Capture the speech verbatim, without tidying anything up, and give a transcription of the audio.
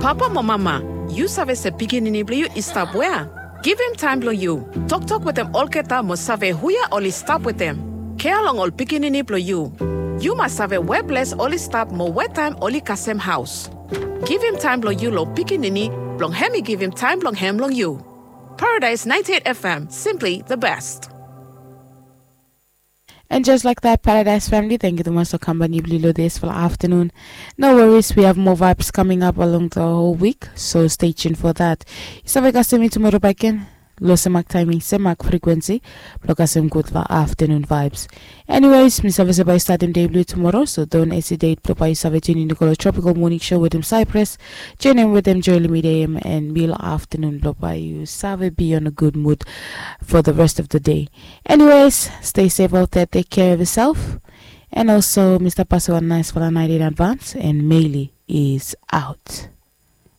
Papa mo mama, yu save se pikinini blong yu i stap wea? Givim taem blong yu. Toktok wetem olgeta mo save huia oli stap wetem. Kea long ol pikinini blong yu. Yu mas save we ples oli stap mo we taem oli kasem haos. Givim taem blong yu long pikinini blong hem i givim taem blong hem long yu. Paradise ninety-eight F M, simply the best. And just like that, Paradise family, thank you so much for company blong yu lo this for afternoon. No worries, we have more vibes coming up along the whole week, so stay tuned for that. Yu save kasem mi tomorrow back again. Lo semak timing, semak frequency, blong kasem gud long afternoon vibes. Anyways, mi save se bae yu statem dei blong yu tomorrow, so don't hesitate blong bae yu save tune in go long Tropical Morning Show wetem Cyprus, join in wetem Joel Midem, and mi lo afternoon blong bae yu save be on a good mood for the rest of the day. Anyways, stay safe out there, take care of yourself, and also Mr. Paso, a nice for the night in advance, and Maylee is out.